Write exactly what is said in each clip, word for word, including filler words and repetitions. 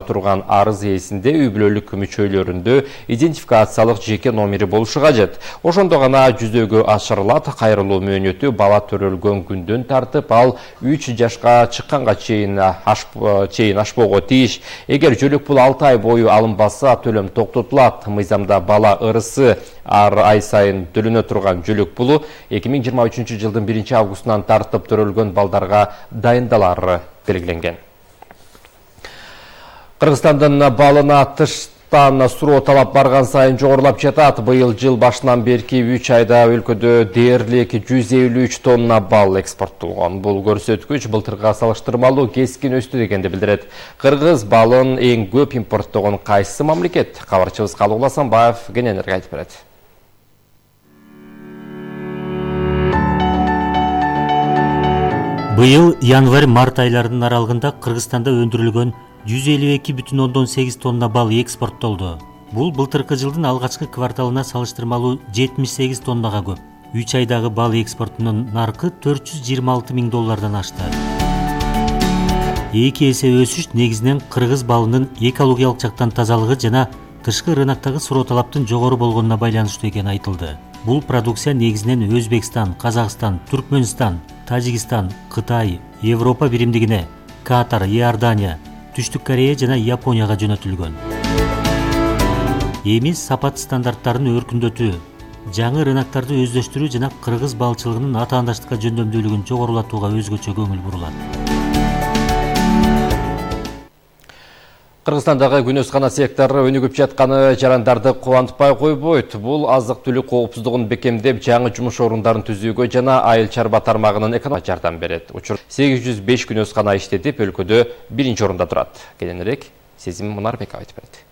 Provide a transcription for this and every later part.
турган арыз ээсинде үй бүлөлүк мүчөлөрүндө идентификациялык жеке номери болушу кажет. Ошондо гана жүзөгө ашырылат. Кайрылуу мөөнөтү бала төрөлгөн күндөн тартып ал үч жашка чыкканга чейин чейин ашпоого тийиш. Эгер жөлөк пул алты ай бою алынбаса, төлөм токтотулат. Мыйзамда бала ырысы ар ай сайын төлөнө турган жөлөк пулу эки миң жыйырма үчүнчү жылдын биринчи августунан тартып төрөлгөн балдарга дайындалары белгиленген. Кыргызстандын балына тыштан суроо талап барган сайын жогорулап жатат. Быйыл жыл башынан берки үч айда өлкөдө дээрлик жүз элүү үч тонна бал экспорттолгон. Бул көрсөткүч былтырга салыштырмалуу кескин өстү дегенди билдирет. Кыргыз балын эң көп импорттогон кайсы мамлекет? Кабарчыбыз Калыгул Асанбаев кененирээк айтып берет. Быйыл январь-март айларынын аралыгында Кыргызстанда өндүрүлгөн жүз элүү эки бүтүн ондон сегиз тонна бал экспорттолду. Бул былтыркы жылдын алгачкы кварталына салыштырмалуу жетимиш сегиз тоннага көп. үч айдагы бал экспортунун наркы төрт жүз жыйырма алты миң доллардан ашты. Эки эсе өсүш негизинен кыргыз балынын экологиялык жактан тазалыгы жана тышкы рыноктогу суроо талаптын жогору болгонуна байланыштуу экени айтылды. Бул продукция негизинен Өзбекстан, Казакстан, Түркмөнстан, Тажикстан, Кытай, Европа биримдигине, Катар, Иордания, Түштүк Корея жана Японияга жөнөтүлгөн. Эми сапат стандарттарын өркүндөтүү, жаңы рыноктарды өздөштүрүү жана кыргыз балчылыгынын атаандаштыкка жөндөмдүүлүгүн жогорулатууга өзгөчө көңүл бурулат. Кыргызстандагы күнөскана сектору өнүгүп жатканы жарандарды кубантпай койбойт. Бул азык-түлүк коопсуздугун бекемдеп, жаңы жумуш орундарын түзүүгө жана айыл чарба тармагынын экономикасына жардам берет. Учур сегиз жүз беш күнөскана иштетип, өлкөдө биринчи орунда турат. Кененирээк Сезим Мунарбеков айтып берет.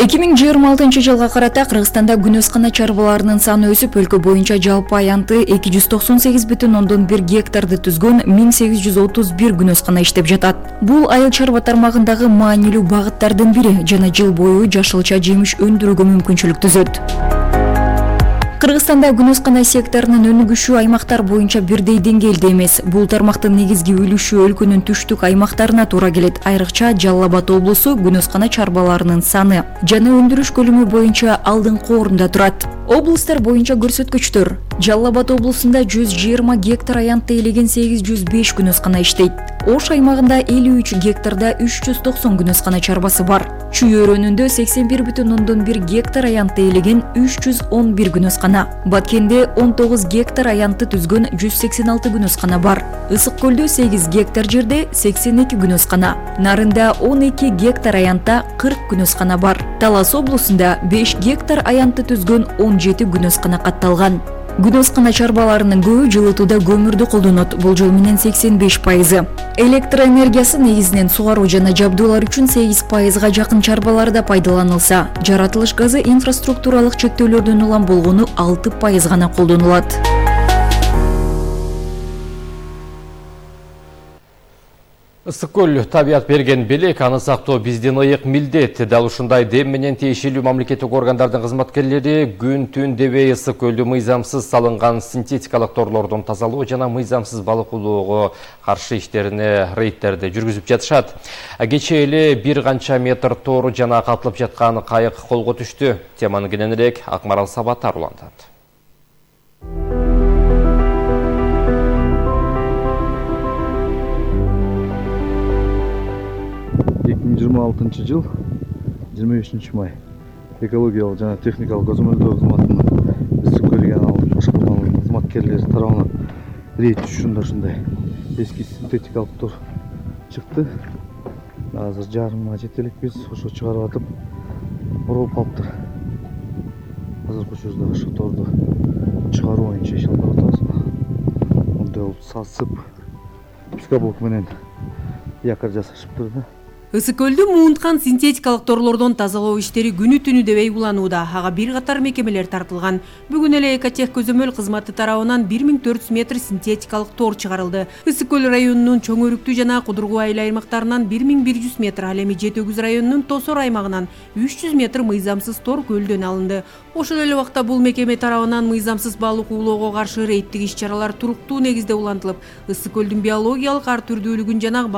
эки миң жыйырма алтынчы жылга карата Кыргызстанда күнөскана чарбаларынын саны өсүп, өлкө боюнча жалпы аянты эки жүз токсон сегиз бүтүн ондон бир гектарды түзгөн миң сегиз жүз отуз бир күнөскана иштеп жатат. Бул айыл чарба тармагындагы маанилүү багыттардын бири жана жыл бою жашылча жемиш өндүрүүгө мүмкүнчүлүк түзөт. Кыргызстанда күнөскана секторунун өнүгүшү аймактар боюнча бирдей деңгээлде эмес. Бул тармактын негизги үлүшү өлкөнүн түштүк аймактарына туура келет. Айрыкча Жалал Абад облусу күнөскана чарбаларынын саны жана өндүрүш көлөмү боюнча алдыңкы орунда турат. Облустар боюнча көрсөткүчтөр: Жалал Абад облусунда жүз жыйырма гектар аянтты ээлеген сегиз жүз беш күнөскана иштейт. Ош аймагында элүү үч гектарда үч жүз токсон күнөскана чарбасы бар. Чүй өрөөнүндө сексен бир бүтүн ондон бир гектар аянтты ээлеген үч жүз он бир күнөскана. Баткенде он тогуз гектар аянтты түзгөн жүз сексен алты күнөскана бар. Ысык көлдө сегиз гектар жерде сексен эки күнөскана. Нарында он эки гектар аянтта кырк күнөскана бар. Талас облусунда беш гектар аянтты түзгөн он жети күнөскана катталган. Күнөскана чарбаларынын көбү жылытууда көмүрдү колдонот, болжол менен сексен беш пайызы. Электроэнергиясы негизинен сугаруу жана жабдуулар үчүн сегиз пайызга жакын чарбаларда пайдаланылса, жаратылыш газы инфраструктуралык чектөөлөрдөн улам болгону алты пайыз гана колдонулат. Ысык көл табият берген белек, аны сактоо биздин ыйык милдет. Дал ушундай дем менен тиешелүү мамлекеттик органдардын кызматкерлери күн түн дебей ысык көлдү мыйзамсыз салынган синтетикалык торлордон тазалоо жана мыйзамсыз балык уулоого каршы иштерине рейдтерди жүргүзүп жатышат. Кечээ эле бир канча метр тор жана катылып жаткан кайык колго түштү. Теманы кененирээк Акмарал Сабатар улантат. эки миң жыйырма алтынчы жыл жыйырма бешинчи май экологиялык жана техникалык көзөмөлдөө кызматынын ысык көл регионалдык башкармалыгынын кызматкерлери тарабынан рейд түшүндө ушундай эски синтетикалык тор чыкты. Азыр жарымга жете элекпиз, ошо чыгарып атып оролуп калыптыр. Азыркы учурда ошо торду чыгаруу боюнча иш алып атабыз. Мындай болуп сасып пикаблок менен якорь жасашыптыр да. Ысык көлдү муунткан синтетикалык торлордон тазалоо иштери күнү түнү дебей уланууда. Ага бир катар мекемелер тартылган. Бүгүн эле Экотех көзөмөл кызматы тарабынан бир миң төрт жүз метр синтетикалык тор чыгарылды. Ысык көл районунун Чоң Өрүктүү жана Кудургу айыл аймактарынан бир миң бир жүз метр, ал эми Жети Өгүз районунун Тосор аймагынан үч жүз метр мыйзамсыз тор көлдөн алынды. Ошол эле убакта бул мекеме тарабынан мыйзамсыз балык уулоого каршы рейдтик иш-чаралар туруктуу негизде улантылып, ысык көлдүн биологиялык ар түрдүүлүгүн жана